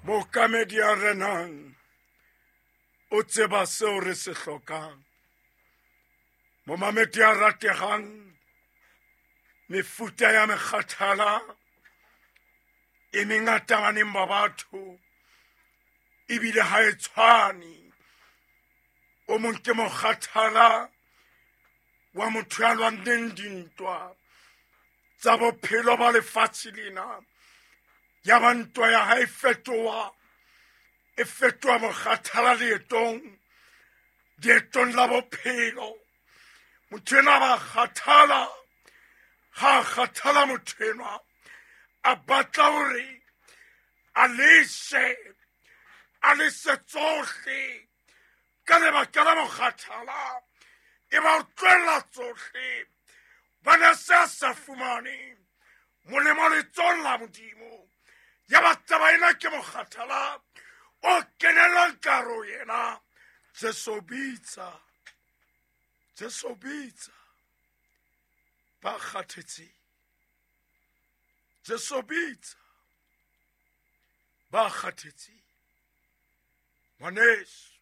Mookamedi ya renang o tseba seo re se hlokang. Momamedi ya rategang, mefuta ya mekgathala e mengata baneng ba batho ebile ha e tshwane. O mong ke mokgathala wa motho ya lwanneng dintwa tsa bophelo ba lefatshe lena, ya ba ntwa ya hae fetoha e fetoha mokgathala leetong, leetong la bophelo. Motho enwa ba kgathala, ha a kgathala motho enwa a batla hore a lese, a lese tsohle ka lebaka la mokgathala, e ba o tlohella tsohle bana se a sa fumane molemo letsong la Modimo. Ya ba taba ena ke mokgathala o kenellang karo yena. Jesu bitsa, Jesu bitsa ba kgathetseng, Jesu bitsa ba kgathetseng. Ngwaneso,